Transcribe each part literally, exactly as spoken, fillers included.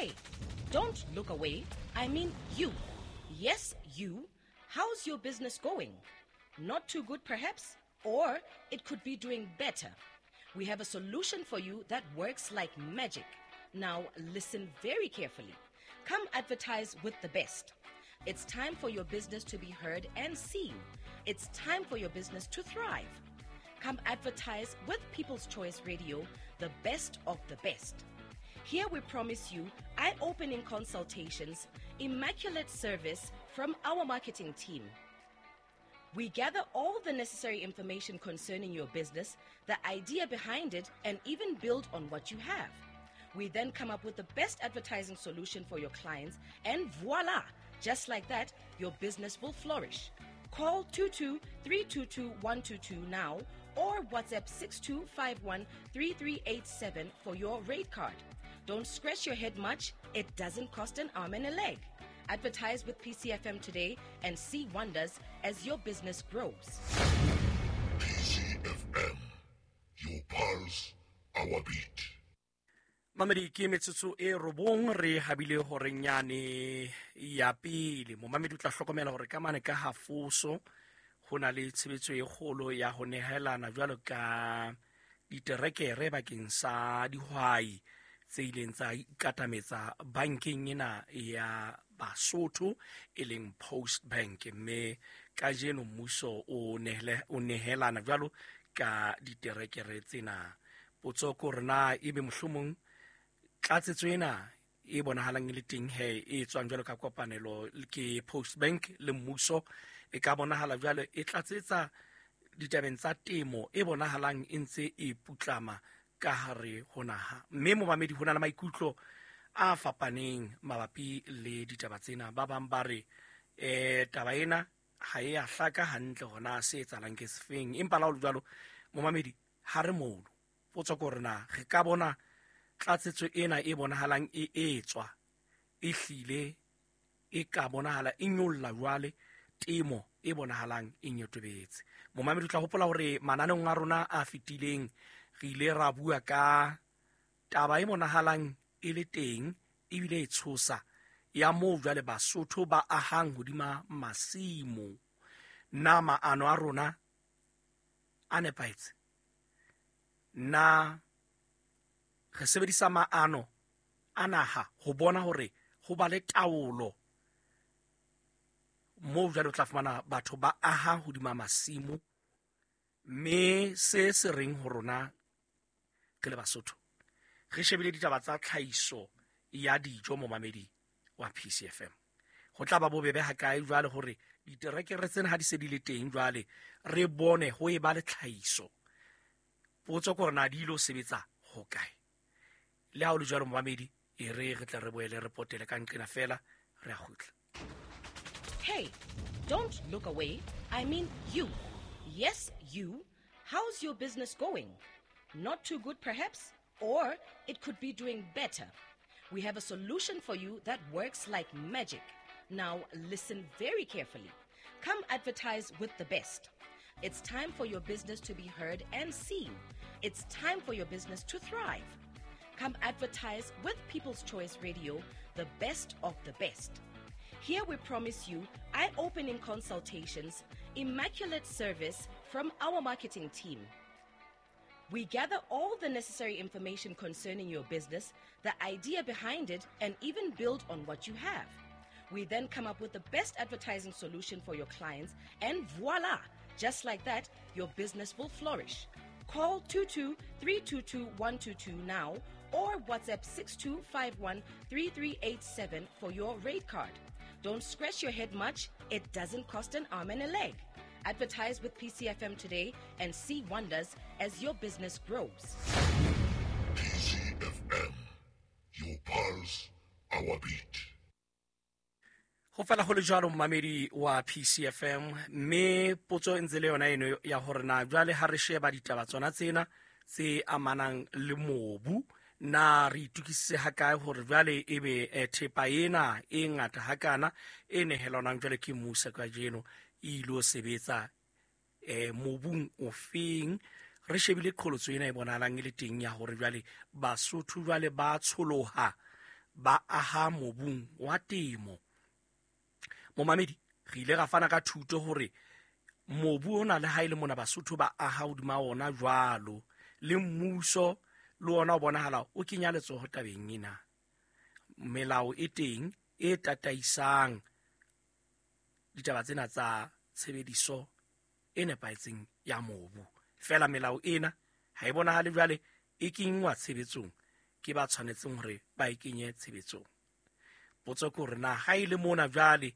Hey, don't look away. I mean you. Yes, you. How's your business going? Not too good, perhaps? Or it could be doing better. We have a solution for you that works like magic. Now, listen very carefully. Come advertise with the best. It's time for your business to be heard and seen. It's time for your business to thrive. Come advertise with People's Choice Radio, the best of the best. Here we promise you eye-opening consultations, immaculate service from our marketing team. We gather all the necessary information concerning your business, the idea behind it, and even build on what you have. We then come up with the best advertising solution for your clients, and voila! Just like that, your business will flourish. Call two two three two two one two two now or WhatsApp six two five one three three eight seven for your rate card. Don't scratch your head much. It doesn't cost an arm and a leg. Advertise with P C F M today and see wonders as your business grows. P C F M, your pulse, our beat. Mamedi ke metsotso e robong re habile hore nyane ya pele. Momamedi o tla hlokomela hore ka mane ka hafoso ho na le tshebetso e kgolo ya ho nehelana jwalo ka diterekere bakeng sa dihwai tse ileng tsa ikatametsa bankeng ena ya Basotho e leng Post Bank, mme kajeno mmuso o nehele, o nehelana jwalo ka diterekere tsena. Potso ke hore na ebe mohlomong tlatsetso ena e bonahalang e le teng he e tswang jwalo ka kopanelo ke Post Bank le mmuso e ka bonahala jwalo e tlatsetsa ditabeng tsa temo e bonahalang e ntse e putlama ka hare ho naha. Mme momamedi ho na le maikutlo a fapaneng mabapi le ditaba tsena. Ba bang ba re eh taba ena ha e a hlaka hantle hona se etsahalang ke sefeng, empa la ho le jwalo momamedi ha re mono. Potso ke hore na re ka bona tlatsetso ena e bonahalang e etswa e hlile e ka bonahala e nyolla jwale temo e bonahalang e nyotobetse. Momamedi o tla hopola hore mananeong a rona a fetileng re ile ra bua ka taba e bonahalang e le teng ebile e tshosa ya moo jwale Basotho ba ahang hodima masimo. Na maano a rona a nepahetse? Na re sebedisa maano a naha ho bona hore ho ba le taolo moo jwale o tla fumana batho ba aha hodima masimo, mme se se reng ho rona re le Basotho re shebile ditaba tsa tlhahiso ya dijo momamedi wa P C F M. Ho tla ba bobebe hakae jwale hore diterekere tsena ha di se di le teng jwale re bone ho e ba le tlhahiso. Potso ke hore na di ilo sebetsa ho kae? Le ha o le jwalo momamedi, e re re tla re boele re potele ka nqena fela re a kgutla. Hey, don't look away. I mean you. Yes, you. How's your business going? Not too good, perhaps? Or it could be doing better. We have a solution for you that works like magic. Now listen very carefully. Come advertise with the best. It's time for your business to be heard and seen. It's time for your business to thrive. Come advertise with People's Choice Radio, the best of the best. Here we promise you eye-opening consultations, immaculate service from our marketing team. We gather all the necessary information concerning your business, the idea behind it, and even build on what you have. We then come up with the best advertising solution for your clients, and voila! Just like that, your business will flourish. Call two two three two two one two two now or WhatsApp six two five one three three eight seven for your rate card. Don't scratch your head much. It doesn't cost an arm and a leg. Advertise with P C F M today and see wonders as your business grows. P C F M, your pulse, our beat. Ho fela ho le jwalo momamedi wa P C F M, mme potso e ntse le yona eno ya hore na jwale ha re sheba ditaba tsona tsena tse amanang le mobu, na re itukisitse hakae hore jwale ebe thepa ena e ngata hakana e nehelanwang jwale ke mmuso kajeno e ilo sebetsa eh mobung ofeng? Re shebile qholotso ena e bonahalang e le teng ya hore jwale Basotho jwale ba tsholoha ba aha mobung wa temo. Momamedi, re ile ra fana ka thuto hore mobu ona le ha ile mona Basotho ba aha hodima ona jwalo, le mmuso le ona o bonahala o kenya letsoho tabeng ena. Melao e teng e tataisang ditaba tsena tsa tshebediso e nepahetseng ya mobu. Fela melao ena ha e bonahale jwale e kenngwa tshebetsong ke ba tshwanetseng hore ba e kenye tshebetsong. Potso ke hore na ha ile mona jwale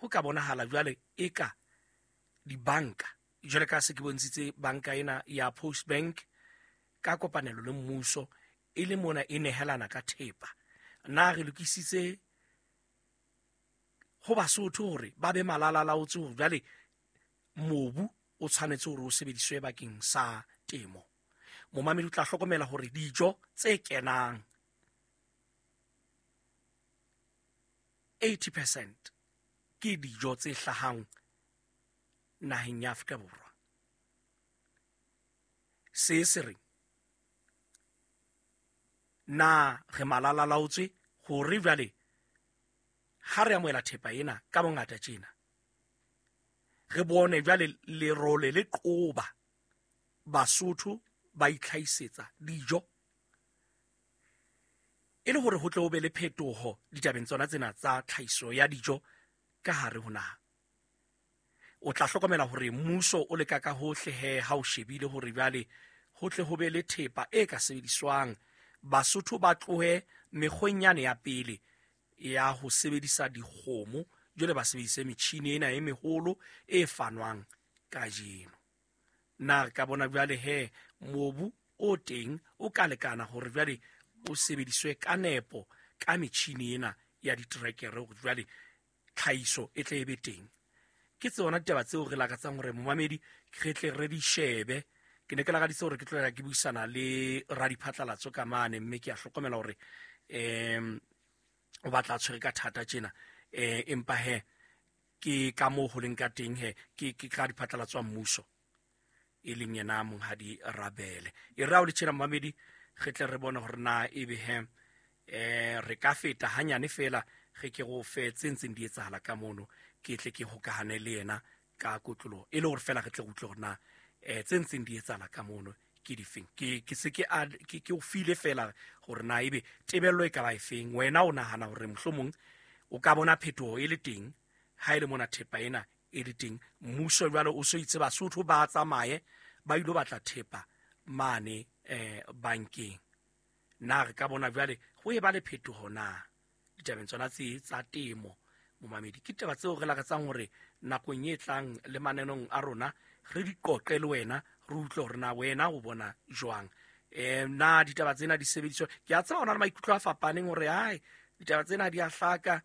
ho ka bonahala jwale eka dibanka jwale ka se ke bontshitse banka ena ya Post Bank ka kopanelo le mmuso e le mona e nehelana ka thepa. Na re lokisitse ho Basotho hore ba be malalalaotse hore jwale mobu o tshwanetse hore o sebediswe bakeng sa temo. Momamedi o tla hlokomela hore dijo tse kenang eighty percent ke dijo tse hlahang naheng ya Afrika Borwa. Se se reng na re malalalaotswe hore jwale ha re amohela thepa ena ka bongata tjena, re bone jwale lerole le qoba Basotho ba itlhahisetsa dijo e le hore ho tle ho be le phetoho ditabeng tsona tsena tsa tlhahiso ya dijo ka hare ho naha. O tla hlokomela hore mmuso o leka ka hohle he ha o shebile hore jwale ho tle ho be le thepa e ka sebediswang, Basotho ba tlohe mekgweng yane ya pele ya ho sebedisa dikgomo, jwale ba sebedise metjhini ena e meholo e fanwang kajeno. Na re ka bona jwale he mobu o teng o ka lekana hore jwale o sebediswe ka nepo ka metjhini ena ya ditrekere hore jwale tlhahiso e tle e be teng. Ke tsona ditaba tseo re lakatsang hore momamedi re tle re di shebe. Ke ne ke lakaditse hore ke tlo ke buisana le radiphatlalatso ka mane, mme ke a hlokomela hore em o batla tshwere ka thata tjena, eh empa he ke ka moo ho leng ka teng he ke ke ka diphatlalatso a mmuso e leng yena monghadi Rabele. E re ha o le tjena momamedi re tle re bone hore na ebe he eh re ka feta hanyane fela re ke go fe tse ntseng di etsahala ka mono, ke tle ke hokahane le yena ka kotlolo e le hore fela re tle re utlwe hore na eh tse ntseng di etsahala ka mono ke difeng. Ke ke se ke ke ke o file fela hore na ebe tebello e ka ba efeng. Wena o nahana hore mohlomong o ka bona phetoho e le teng ha ile mona thepa ena e le teng, mmuso jwale o so itse Basotho ba tsamaye ba ilo batla thepa mane eh bankeng. Na re ka bona jwale ho e ba le phetoho na ditabeng tsona tse tsa temo? Momamedi, ke taba tseo re lakatsang hore nakong e tlang le manenong a rona re di qoqe le wena, re utlwe hore na wena o bona jwang. Eh na ditaba tsena di sebediswa? Ke a tseba hona le maikutlo a fapaneng hore hai ditaba tsena di a hlaka,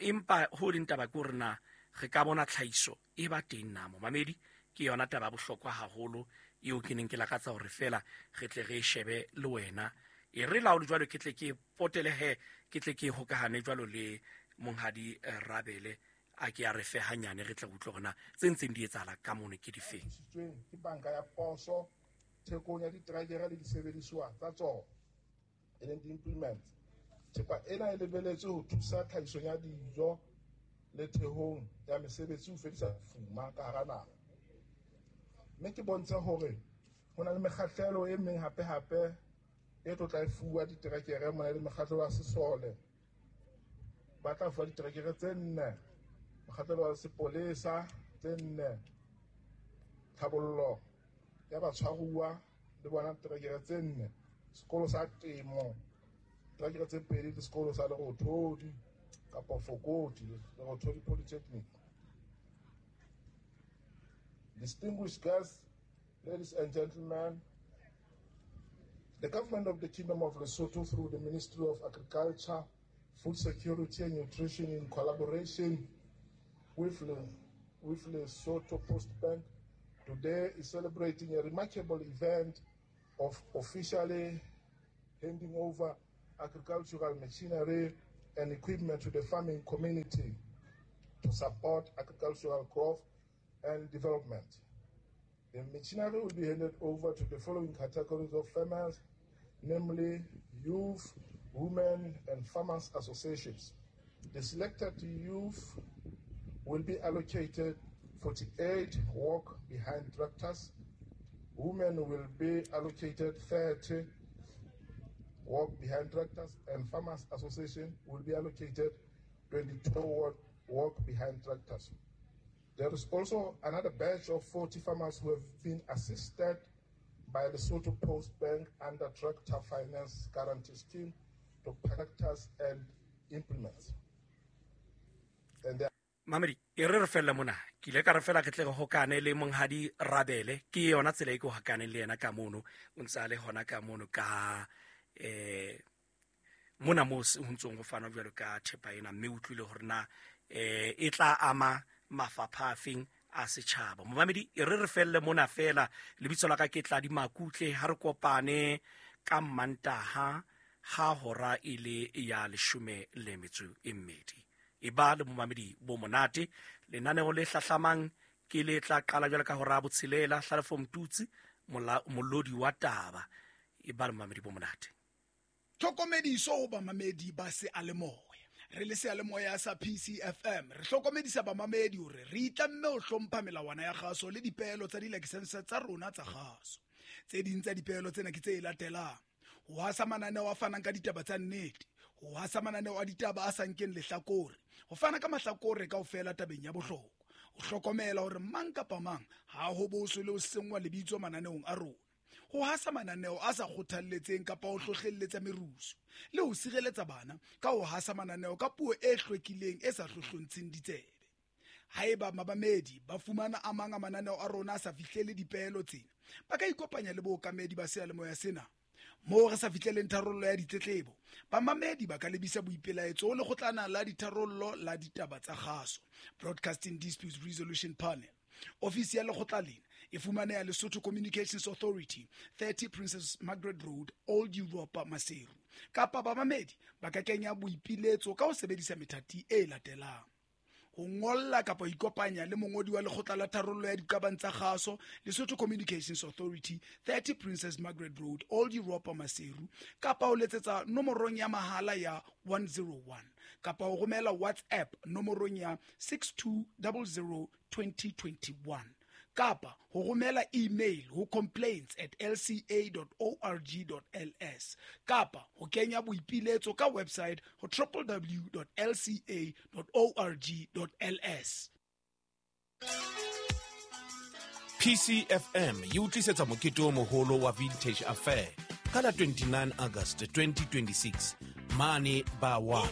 empa ho leng taba ke hore na re ka bona tlhahiso e ba teng na. Momamedi, ke yona taba bohlokwa haholo eo ke neng ke lakatsa hore fela re tle re shebe le wena. E re laolo jwalo ke tle ke potele he ke tle ke hokahane jwalo le monghadi Rabele a ke a re fe hanyane re tle utlwe hore na tse ntseng di etsahala ka mono ke difeng. Ke banka ya poso thekong ya ditrekere le disebediswa tsa tsona e leng di-implements. Thepa ena e lebeletswe ho thusa tlhahisong ya dijo le thehong ya mesebetsi ho fedisa fuma ka hara naha. Mme ke bontshe hore ho na le mekgahlelo e meng hape-hape e tlo tla e fuwa diterekere mona le mekgahlelo ya sesole. Ba tla fuwa diterekere tse nne, mokgahlelo wa sepolesa tse nne, tlhabollo ya batshwaruwa le bona diterekere tse nne, sekolo sa temo diterekere tse pedi le sekolo sa Lerothodi kapa Fokoti, Lerothodi Polytechnic. Distinguished guests, ladies and gentlemen, the government of the Kingdom of Lesotho through the Ministry of Agriculture, Food Security and Nutrition in collaboration with, Le, with Lesotho Post Bank today is celebrating a remarkable event of officially handing over agricultural machinery and equipment to the farming community to support agricultural growth and development. The machinery will be handed over to the following categories of farmers, namely youth, women and farmers associations. The selected youth will be allocated forty-eight walk behind tractors. Women will be allocated thirty walk behind tractors, and farmers association will be allocated twenty-two walk behind tractors. There is also another batch of forty farmers who have been assisted by the Lesotho Post Bank under Tractor Finance Guarantee Scheme to tractors and implements. And there Mamedi, e re re fella mona, ke ile ka re fela ke tle go hokane le monghadi Rabele, ke yona tsela e ke hokane le yena ka mono, o ntse a le hona ka mono ka eh mona mo ho ntsong go fana jwalo ka thepa ena, mme utlwile hore na eh e tla ama mafapha a feng a setjhaba. Momamedi, e re re felle mona fela, lebitso la ka ke Tladi Makutle, ha re kopane ka Mantaha ha hora e le ya leshome le metso e mmedi. E ba le momamedi bo monate, lenaneo le hlahlamang ke le tla qala jwalo ka hora ya botshelela, Hlalefo Mtutsi, molodi wa taba. E ba le momamedi bo monate. Tlhokomediso ho bamamedi ba seyalemoya. Re le seyalemoya sa P C F M, re hlokomedisa bamamedi hore re itlamme ho hlompha melawana ya kgaso le dipeelo tsa dilakesense tsa rona tsa kgaso. Tse ding tsa dipeelo tsena ke tse latelang: ho hasa mananeo a fanang ka ditaba tsa nnete, ho hasa mananeo a ditaba a sa nkeng lehlakore, ho fana ka mahlakore kaofela tabeng ya bohlokwa, ho hlokomela hore mang kapa mang ha ho boswe le ho senngwa lebitso mananeong a rona, ho hasa mananeo a sa kgothalletseng kapa ho hlohlelletsa merusu, le ho sireletsa bana ka ho hasa mananeo ka puo e hlwekileng e sa hlohlontsheng ditsebe. Haeba mabamedi ba fumana a mang a mananeo a rona a sa fihlele dipeelo tsena, ba ka ikopanya le bookamedi ba seyalemoya sena. Moo re sa fihleleng tharollo ya ditletlebo, bamamedi ba ka lebisa boipelaetso ho lekgotlana la ditharollo la ditaba tsa kgaso, Broadcasting Disputes Resolution Panel. Ofisi ya lekgotla lena e fumaneha Lesotho Communications Authority, thirty Princess Margaret Road, Old Europa, Maseru. Kapa bamamedi ba ka kenya boipiletso ka ho sebedisa methati e latelang: ho ngolla kapa ho ikopanya le mongodi wa lekgotla la tharollo ya diqabang tsa kgaso, Lesotho Communications Authority, thirty Princess Margaret Road, Old Europa, Maseru, kapa ho letsetsa nomorong ya mahala ya one zero one, kapa ho romela WhatsApp nomorong ya six two zero zero twenty twenty-one, kapa ho romela email ho complaints at l c a dot org dot l s, kapa ho kenya boipiletso ka website ho w w w dot l c a dot org dot l s. P C F M e o tlisetsa mokete o moholo wa Vintage Affair ka la twenty-nine August twenty twenty-six mane ba one.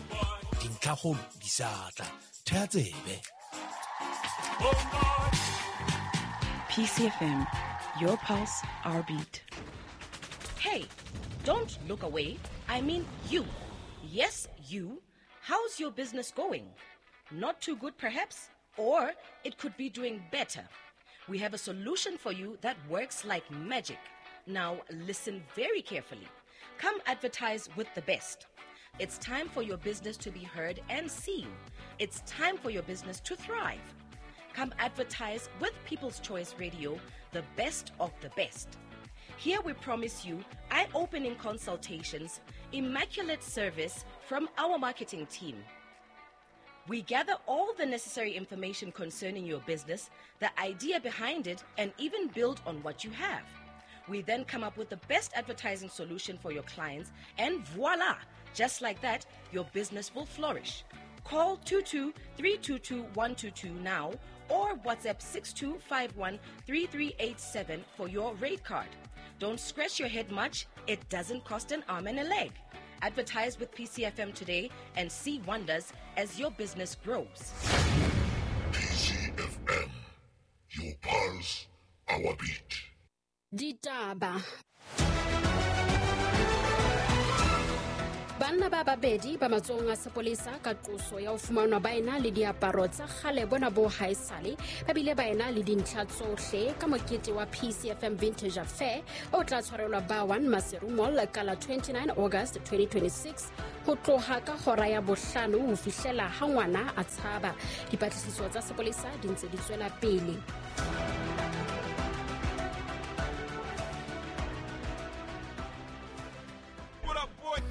Dintlhakgolo di sa tla. Theha tsebe. P C F M, your pulse, our beat. Hey, don't look away. I mean you. Yes, you. How's your business going? Not too good, perhaps? Or it could be doing better. We have a solution for you that works like magic. Now, listen very carefully. Come advertise with the best. It's time for your business to be heard and seen. It's time for your business to thrive. Come advertise with People's Choice Radio, the best of the best. Here we promise you eye-opening consultations, immaculate service from our marketing team. We gather all the necessary information concerning your business, the idea behind it, and even build on what you have. We then come up with the best advertising solution for your clients, and voila! Just like that, your business will flourish. Call two two three two two one two two now or WhatsApp six two five one three three eight seven for your rate card. Don't scratch your head much. It doesn't cost an arm and a leg. Advertise with P C F M today and see wonders as your business grows. P C F M, your pulse, our beat. Ditaba. Banna ba babedi ba matsohong a sepolesa ka qoso ya ho fumanwa ba ena le diaparo tsa kgale bona bo haesale, ba bile ba ena le dintlha tsohle ka mokete wa P C F M Vintage Affair o tla tshwarelwa ba one Maseru Mall ka la twenty-nine August twenty twenty-six ho tloha ka hora ya bohlano ho fihlela ha ngwana a tshaba. Dipatlisiso tsa sepolesa di ntse di tswela pele.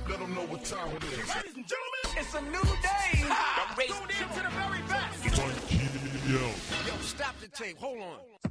Let them know what time it is. Ladies and gentlemen, it's a new day. I'm ready. Tune in to the very best. It's on T L. Yo, stop the tape. Hold on.